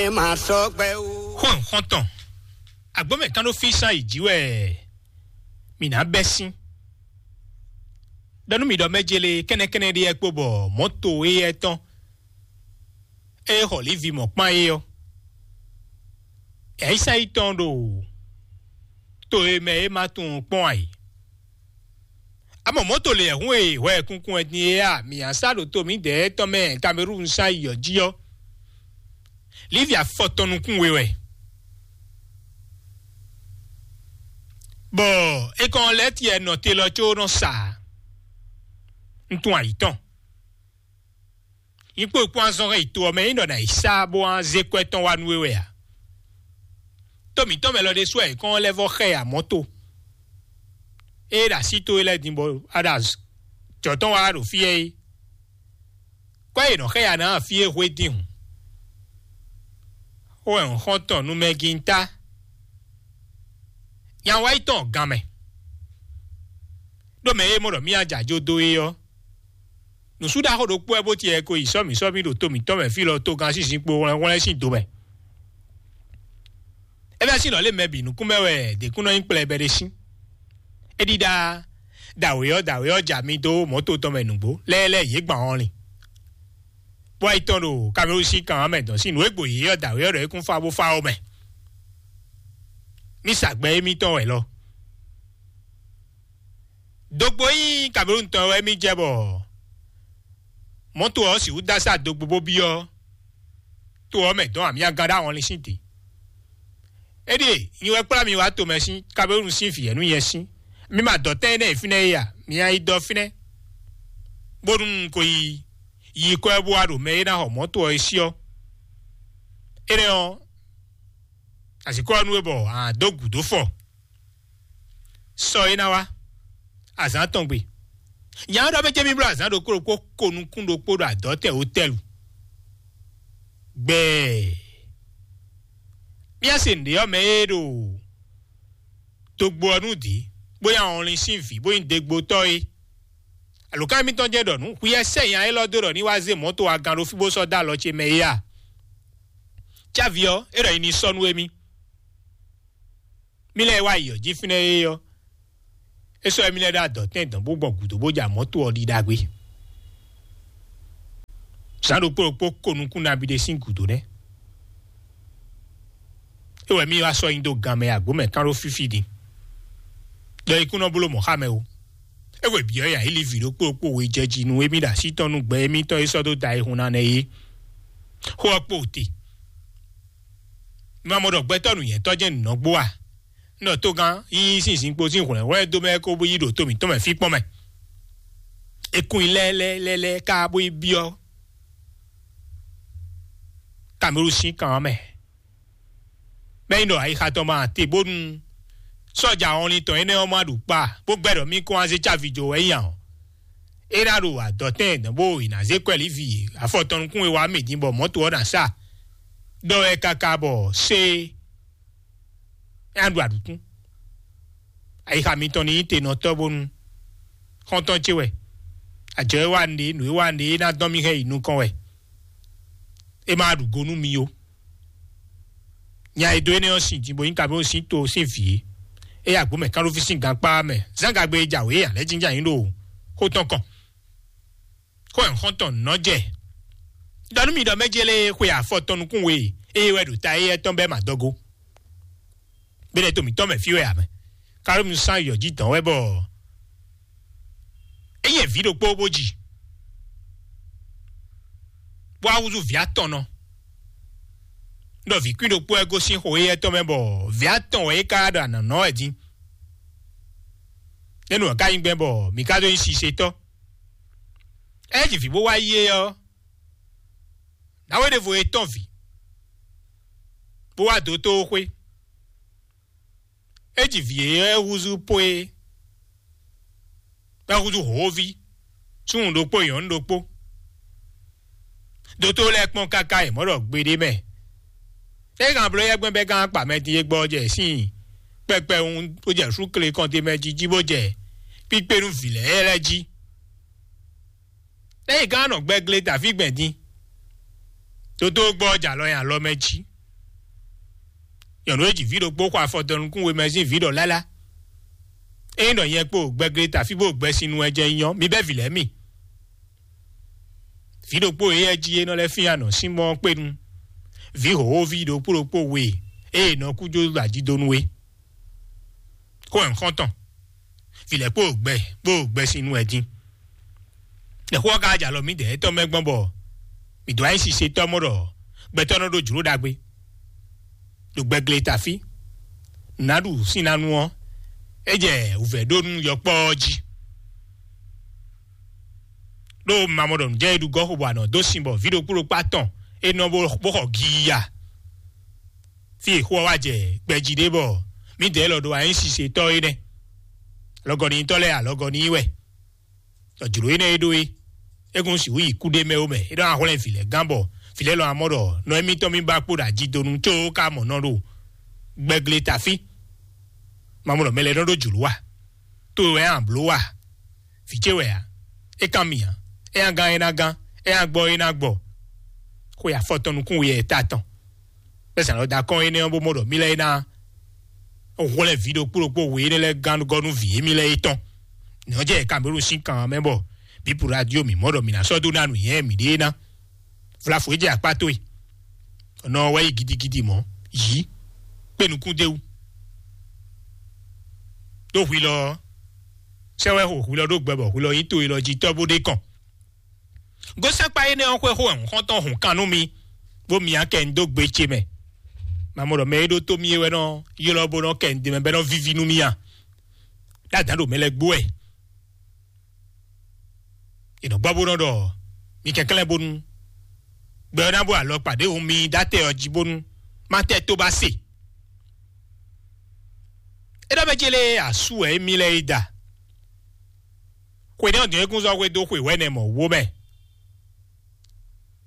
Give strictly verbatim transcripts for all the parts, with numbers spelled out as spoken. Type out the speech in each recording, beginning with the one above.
Ɛ máa sɔ́ gbɛ ó. Xɔn xɔntɔn, agbɔ́mɛ kan ɖó fí sán yi jǐ wɛ mǐ ná bɛ́ sín. Ɖɔ nú mì ɖɔ mɛ jele kɛ́nɛkɛ́nɛ ɖé yɛ kpo bɔ mɔ̌to éyɛ́ tɔn e xɔ Livi mɔ̌ kpán é ɔ́, yǎyísá yi tɔn ɖo to e mɛ é ma tunwun kpɔ́n ǎ é. Amɔ mɔ̌to lě hun e hwɛ kunkun wɛ din é a mǐ a sá ɖo to mǐdɛɛ tɔn mɛ Kamerúnu sán yi ɔ́ jí ɔ́, Livi afɔ tɔn nukún we wɛ. Bɔ é kɔn lɛ́ tiɛ nɔ te lɔ có nɔ sa un tunwun ayǐ tɔn. Nyí kpó kpó azɔn hɛn yi to ɔ́ mɛ é nɔ ná yi sá bó wá zé kwɛ́ tɔn wá nú we wɛ a? Tó mǐtɔn mɛ lɔ ɖésú wɛ è kɔn lɛ́ vɔ xɛ ya mɔ̌to. Ée ɖo así towe lɛ́ɛ din bɔ a ɖo jɔ̌ tɔn wá ɖo fí ɛ é, kwɛ́ e nɔ xɛ ya ná fí é hwe din hǔn. Xó wɛ un xɔ́n tɔn nú mɛ gíntá. Nya wá yi tɔn gan mɛ. Ɖó mɛ e mɔ ɖɔ mí ajajo dó é ɔ́, nǔsú ɖaxó ɖokpó wɛ bó tiɛ ko yi sɔ́mǐ sɔ́mǐ ɖo to mǐtɔn mɛ fí lɔ togán sín zinkpo hwlɛ́nhwlɛ́n sín do mɛ. É vɛ́ sín nɔ lé mɛ bǐ nukún mɛ wɛ děkúnɔ nyí kplɛbɛ ɖé sín. É ɖíɖá dǎwe ɔ́ dǎwe ɔ́ ja mi dó mɔ̌to tɔn mɛ nǔgbó lɛ́ɛ lɛ́ɛ yě gban ɔ́lin. Bó wá yi tɔn ɖo Kamerúnu sín kan ɔ́ mɛ dɔn sín nǔ e gbo yě ɔ́ dǎwe ɔ́ ɖɔ é kún fá bó fá ɔ́ mɛ. Mí sa gbɛ émítɔn wɛ lɔ. Dogbo nyí Kamerúnu tɔn wɛ mí jɛ bɔ mɔ̌to ɔ́ sixú dó asá dogbo bó byɔ́ to ɔ́ mɛ dɔn amyagán ɖó ahɔnlin sín te. Éɖíe nyi wɛ kplá mi wá tomɛ sín Kamerúnu sín vǐ ɛ́ nú nyɛ sín. Mi ma dɔ tɛ́ énɛ́ e fínɛ́ é a? Mi nya yi dɔ fínɛ́, bónú un ko yi yi kɔ ɛ bó wá ɖo mɛ e ná xɔ mɔ̌to ɔ́ é sí ɔ́. Énɛ́ ɔ́, azǐkɔ ɔ́ nú we bɔ a dó gǔdo fɔ. Sɔ é ná wá azǎn tɔn gbe. Nya ɔ́ ɖɔ mɛ jɛ́n mì bló azǎn ɖokpó ɖokpó ko nukún ɖokpó ɖo adɔ̌tɛn wotɛ́lu. Gbɛɛ. Mía se nǔɖé ɔ́ mɛ e ɖo dogbo ɔ́ nú dǐ, bó nyí ahɔnlin sín vǐ, bó nyí degbotɔ́ é. Alǒkan émítɔn jɛ́n ɖɔ nǔ hwiyɛ́ sɛ́nya élɔ́ dó ɖɔ ní wá zé mɔ̌to agan ɖo fí bó sɔ́ dó alɔ ce mɛ é a? Cávi ɔ́, é ɖɔ nyi ní sɔ́ nú émí. Mí lɛ́ɛ wá yi ɔ̌ jí fínɛ́ é ɔ́, é sɔ́ émí lɛ́ɛ ɖó adɔ̌tɛn dɔn bó gbɔn gǔdo bó ja mɔ̌to ɔ́ ɖi ɖagbe. Zǎn ɖokpó ɖokpó ko nukún nabí ɖé sín gǔdo nɛ́. É wɛ mí wá sɔ́ nyi dó gan mɛ agbǒ mɛ kán ɖó fífí din. Ɖɔ ikú nɔ bló mɔ̌ xá mɛ o. É hwe byɔ̌ yǎ yi li vǐ ɖokpó ɖokpó we jɛ jí nú émí ɖo así tɔn nú gbɛ émítɔn e sɔ́ dó da ayihún ná nɛ́ é. Xó ɔ́ kpo te. Un ma mɔ ɖɔ gbɛtɔ́ nǔnywɛ́tɔ́ jɛ́n nǔ nɔ gbó a? Un ɖɔ togán yíyí sín zinkpo sín hwlɛ̌nhwlɛ́n dó mɛ kó bó yi ɖo to mǐtɔn mɛ fí kpɔ́n mɛ. É kún nyi lɛ́lɛ́lɛ́lɛ́ ká bó yi byɔ́ Kamerúnu sín kan ɔ́ mɛ. Mɛ nyi ɖɔ ayixa tɔn ma te bónú sɔ́ja ɔnlin tɔn énɛ́ ɔ́ ma ɖu kpa bó gbɛ́ ɖɔ mí kún wá zé cávi jó wɛ nyí ǎ ɔ́, é ná ɖo adɔ̌tɛn dɔn bó è nǎ zé kwɛ́ Livi afɔ tɔn nukún e wá mì din bɔ mɔ̌to ɔ́ ná sa ɖɔ wɛ káká bɔ sé é ná ɖu aɖǔkún. Ayixa mitɔn ní nyí tenɔtɔ́ bónú xɔ́ntɔn ce wɛ. Ajɔ e wa nǔɖé, nǔ e wa nǔɖé é ná dɔn mì hɛn yi nukɔn wɛ. É ma ɖu go nú mi ó. Nya e dó énɛ́ ɔ́ sin din bó nyí Kamerúnu sín to sín vǐ é. É yi agbǒ mɛ kánɖófí sín gankpá mɛ. Zán gagbe e jǎwe é ǎ lɛ́ jínjɔ́n ayǐ ɖo xó tɔn kɔn. Xó ɛ xɔ́ntɔn nɔ́ jɛ. Ɖɔ nú mi ɖɔ mɛ jélé xwe afɔ tɔn nukún we e, eye wɛ ɖo ta éyɛ́ tɔn bɛ́ mǎdɔgo. Bɛ́nɛ́ to mǐtɔn mɛ fí wɛ ǎ mɛ. Kamerúnu sán yɔ jí dɔn wɛ bɔ é yɛ vǐ ɖokpó bó ji, bó wá húzú vǐ atɔn nɔ. Ɖɔ vǐ kwín ɖokpó wɛ gosín xo éyɛ́ tɔn mɛ bɔ vǐ atɔn wɛ é ka ɖo anɔ̌nɔ wɛ dín. Énú ɔ́ ka nyí gbɛn bɔ mǐ ka dó nyí sisetɔ́. Ɛ ji vǐ bó wá yí é ɔ́, nǎwe ɖěvo e tɔ́n vǐ, bó wá dó tó xwé. É ji vǐ e é húzú pó é, bɔ é húzú hǒví, súnnu ɖokpó nyɔ̌nu ɖokpó. Dotó lɛ́ɛ kpɔ́n káká è mɔ̌ ɖɔ gbeɖé mɛ. É hɛn bló yɛ́gbɛ́n bɛ́ gán kpa mɛ din e gbɔ jɛ sín kpɛkpɛwun bó jɛ súkle kɔn te mɛ jí jí bó jɛ kpíkpé nú vǐ lɛ́ɛ lɛ́ɛ jí. Lɛ́ yi gán nɔ gbɛ́ glé Davíd gbɛn din. Dotó gbɔ jɛ alɔ nyi alɔ mɛ jí. Nyɔ̌nu e ji vǐ ɖokpó xɔ afɔ dɔnukún wemɛzín vǐ ɖɔ lálá. Ényí ɖɔ nyɛ kpo gbɛgle tafí bó gbɛsin nu wɛ jɛ nyɔ, mi bɛ́ vǐ lɛ́ɛ mi. Vǐ ɖokpó e yɛ jí é nɔ lɛ́ fín anɔ sín mɔ kpé nu. Vǐ hǒhóví ɖokpó ɖokpó we e è nɔ kú jó ɖo ajidonu é. Xó wɛ un xɔ́n tɔn. Vǐ lɛ́ɛ kpo gbɛ kpo gbɛsin nu wɛ dín. Nɛ̌ xó ɔ́ ka jɛ alɔ mǐdɛɛ tɔn mɛ gbɔn bɔ mǐ dó ayísisetɔ́ mɔ ɖɔ gbɛtɔ́ nɔ ɖó jlǒ ɖagbe? Ɖo gbɛgle tafí nǔ ná ɖu sín ná nu ɔ́, é jɛ wǔvɛ́ ɖó nú yɔkpɔ́ ɔ́ jí. Ɖó mamɔɖɔnújɛ e ɖu gɔ́ xo bɔ anɔ dó sin bɔ vǐ ɖokpó ɖokpó atɔn é nɔ bó bó xɔ giya. Fí e xó ɔ́ wá jɛ gbɛjí ɖé bɔ mǐdɛɛ lɔ ɖo ayísisetɔ́ é nɛ́. Alɔgɔnítɔ́ lɛ́ɛ alɔgɔní wɛ. Ɖɔ jlǒ énɛ́ e ɖó é, é kún sixú yi kúɖé mɛ ó mɛ. É ɖɔ ahwlɛ́n vǐ lɛ́ɛ gán bɔ vǐ lɛ́ɛ lɔ amɔ ɖɔ nɔ émítɔn mì ba kpo ɖo ajidonu có ka mɔ nɔ ɖo gbɛgle tafí. Mamɔ ɖɔ mɛ lɛ́ɛ nɔ ɖó jlǒ a? To wɛ a blǒ a? Vǐ ce wɛ a? É kan mì a? É nya gán é ná gán, é nya gbɔ é ná gbɔ. Xwe afɔtɔn nukún we yɛ ta tɔn. Bɛ́ zǎn lɔ da kɔn énɛ́ ɔ́ bó mɔ ɖɔ mí lɛ́ɛ ná hwlɛ́n vǐ ɖokpó ɖokpó we énɛ́ lɛ́ɛ gán gɔ́ nú vǐ émí lɛ́ɛ é tɔn. Nɛ̌ ɔ́ jɛ Kamerun sín kan ɔ́ mɛ bɔ bǐ radio mǐ mɔ ɖɔ mǐ ná sɔ́ dó ná nǔnywɛ́ mǐɖée ná. Vlafo é jɛ akpá towe. Nɔ wɛ yi gidigidi mɔ̌, yǐ kpé nukún d'é wú. Ɖó hwi lɔ ɔ́, sɛ́ wɛ xo hwi lɔ ɖó gbɛ bɔ hwi lɔ nyí to e lɔ jí tɔ́ bó ɖe kɔn. Gosɛ́nkpa énɛ́ ɔ́ xwé xó wɛ xɔ́ntɔn hun kan nú mi, bó myá kɛ un dó gbe ce mɛ. Mamɔ ɖɔ mɛ e ɖó tó mì é wɛ nɔ ylɔ́ bó nɔ kɛ un d'é mɛ bɔ é nɔ víví nú mì a? Ɖó adǎn ɖo mɛ lɛ́ɛ gbó wɛ. È nɔ gbɔ bó nɔ ɖɔ mi kɛnklɛ́n bónú gbɛ ɔ́ ná bó alɔkpa ɖěvo mi dó atɛ ɔ́ jí bónú má tɛ tó ba se. É ɖɔ mɛ ce lée asú wɛ émí lɛ́ɛ yi da. Xwe nɛ́ ɔ́ dɔn é kún zɔ́ xwedó xwe wɛ̌nɛ mɔ̌ wó mɛ.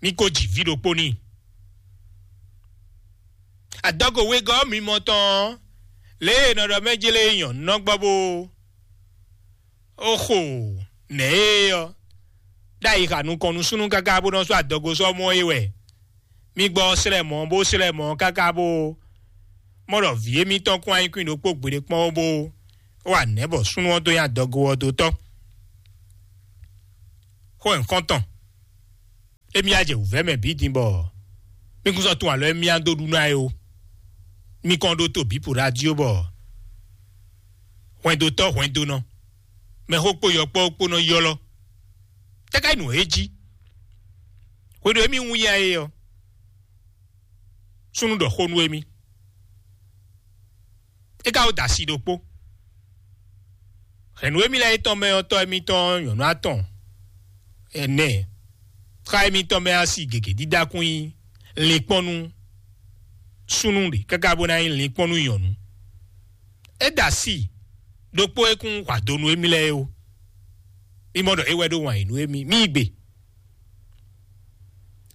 Mi ko ji vǐ ɖokpó n'i. Adɔgo wegɔ́ mimɔ tɔn ɔ́, lě e è nɔ ɖɔ mɛ jlé nyɔ̌nu nɔ gbɔ bó oxo nɛ̌ é ɔ́, ɖ'ayǐ xa nukɔn nú súnnu káká bó nɔ sú adɔgo sɔ́ mɔ é wɛ. Mi gbɔ slɛ́ mɔ̌ bó slɛ́ mɔ̌ káká bó mɔ ɖɔ vǐ émítɔn kún anyíkwín ɖokpó gbeɖé kpɔ́n ó bó wa nɛ̌ bɔ súnnu ɔ́ dó nyi adɔgo ɔ́ dó tɔ́. Xó nyǐkɔ́ntɔn. Émí á jɛ wǔvɛ́ mɛ bǐ din bɔ mí kún sɔ́ tún alɔ émí á dó ɖu ná é ó. Mí kɔn ɖó to bǐ po ɖo ají ó bɔ hwɛndotɔ́ hwɛndonɔ, mɛxó kpó yɔkpɔ́ kpó nɔ ylɔ́. Tɛ́ ká nyí nǔ e jí? Hwenu e mí wún ya é ɔ́, súnnu ɖɔ xó nú émí. É ka wó da asi ɖokpó. Hɛ̌nnu émí lɛ́ɛ é tɔn mɛ ɔ́, tɔ́ émítɔn nyɔ̌nu atɔn ɛnɛ, xá émítɔn mɛ asi gěgé dídá kún nyí linkpɔ́n nú súnnu ɖě káká bó ná nyí linkpɔ́n nú nyɔ̌nu. É da asi ɖokpó e kún hwa do nú émí lɛ́ɛ é ó. Mí mɔ ɖɔ é wɛ ɖó wǎn yí nú émí. Mí yi gbe.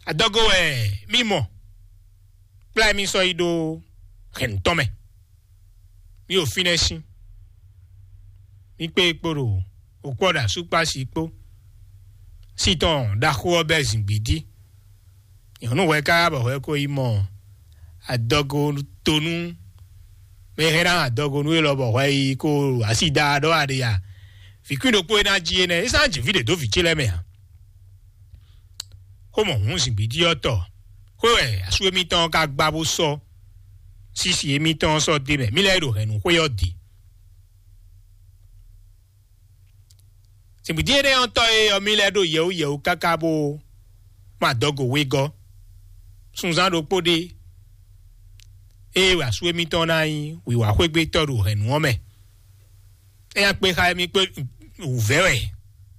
Adɔgo wɛ mí mɔ. Kplá mí sɔ́ yi ɖó hɛ̌nnu tɔn mɛ. Mí ɖo fínɛ́ sín. Mí kpé kpó ɖo òkpɔ́ ɖo asúkpási kpó. Sí tɔn ɖaxó ɔ́ bɛ́ zǐngbídí. Nyɔ̌nu hwɛ ká bɔ hwɛ ko yi mɔ adɔgo tonu. Mɛ hɛn ná adɔgo nú élɔ́ bɔ hwɛ yi ko asi da ɖɔ aɖe ya. Vǐ kwín ɖokpó e ná jí énɛ́, é sán jǐ fí ɖě dó vǐ ce lɛ́ɛ mɛ ǎ. Xó mɔ hǔn zǐngbídí ɔ́ tɔ. Xwé wɛ asú émítɔn ɔ́ ka gbá bó sɔ́ sísi émítɔn ɔ́ sɔ́ dó mɛ. Mí lɛ́ɛ ɖo hɛ̌nnu xwé ɔ́ dǐ. Zǐngbídí énɛ́ ɔ́ tɔ́ e ɔ́, mí lɛ́ɛ ɖo yɛwú yɛwú káká bó ma dɔgo wegɔ́. Sunzán ɖokpó ɖé ée wɛ asú émítɔn ná nyí wǐwá xwégbétɔ́ ɖo hɛ̌nnu ɔ́ mɛ. É nya kpé xá émí kpé wǔvɛ́ wɛ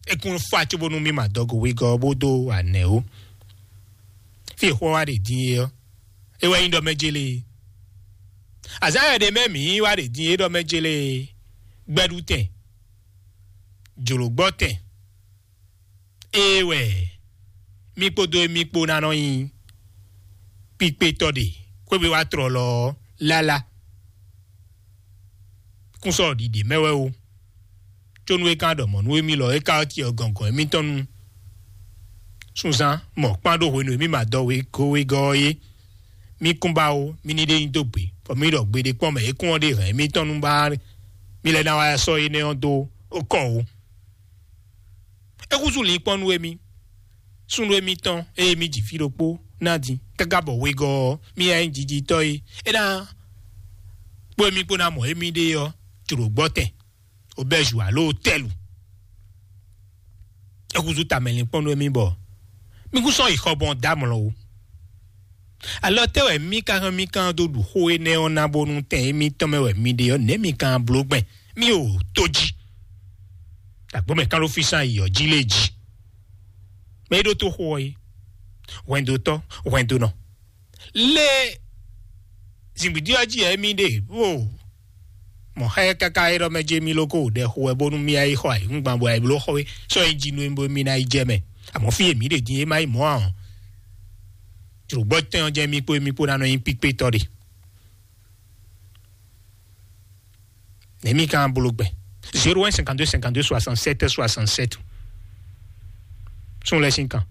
é kún fá cóbónú mí ma dɔgo wegɔ́ bó dó anɛ̌ ó. Fí e xó ɔ́ wá ɖe din é ɔ́, é wɛ nyí ɖɔ mɛ jélé. Azǎn wɛ ɖě mɛ mǐ wá ɖe din é ɖɔ mɛ jélé. Gbɛɖutɛn, jlǒgbɔ́tɛn, ée wɛ mí kpódó émí kpó ná nɔ nyi kpíkpétɔ́ ɖe xwé wá tlɔlɔ ɔ́ lálá. Kún sɔ́ ɖiɖe mɛ wɛ ó. Có nú é ka ɖɔ mɔ̌ nú émí lɔ é ka ɔ́, ti ɔ́ gɔngɔn émítɔn nu. Sunzán mɔ kpán ɖó hwenu e mí ma dɔ wegɔ́ wegɔ́ ɔ́ é. mí kún ba ó, mí ní ɖe nyi dó gbe, bɔ mí ɖɔ gbe ɖé kpɔ́n mɛ é kún ɔ́ ɖe hɛn émítɔn nú ba mí lɛ́ ná wá sɔ́ énɛ́ ɔ́ dó ó kɔ ó. É húzú lǐnkpɔ́n nú émí, súnnu émítɔn ée mí ji fí ɖokpó ná din, káká bɔ wegɔ́ ɔ́, mí yá nyí jijitɔ́ é, é ná kpó émí kpó ná mɔ émí ɖe ɔ́, jlǒ gbɔ́ tɛn, obɛ́zu alo tɛ́lu. É húzú tamɛ lǐnkpɔ́n nú émí bɔ mí kún sɔ́ yi xɔ gbɔn dó amlɔ ó. Alɔ tɛ́ wɛ mí ka hɛn mí kan dó ɖu xó énɛ́ ɔ́ ná bónú tɛn émítɔn mɛ wɛ mi ɖe ɔ́, nɛ̌ mi ka bló gbɛn? Mí o tó jí. Agbǒ mɛ kán ɖó fí sán yi ɔ́ jí lé jí. Mɛ é ɖótó xó ɔ́ é, hwɛndotɔ́, hwɛndonɔ. Lé zǐngbídí ɔ́ jí ɛ mí ɖe bó mɔ xá ɛ káká é ɖɔ mɛ jɛ mí lóko ɖɛ xo wɛ bónú mí yi xɔ ayǐhúngban bɔ ayǐbló xɔ é sɔ́ yi jí nú mí bó mí ná yi jɛ mɛ. Amɔ̌ fí e mǐ ɖe din é má yi mɔ̌ ǎ ɔ́, jlǒgbɔ́ tɛn ɔ́ jɛ mí kpó mí kpó ná nɔ nyí píkpétɔ́ ɖe. Nɛ̌ mí ka bló gbɛn? Zéro un cinquante-deux cinquante-deux soixante-sept soixante-sept. Sún lɛ́ sín kan.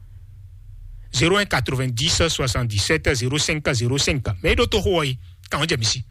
Zéro un quatre-vingt-dix soixante-dix-sept zéro cinq zéro cinq. Mɛ é ɖó tó xó ɔ́ yi, kan ɔ́ jɛ mí sí.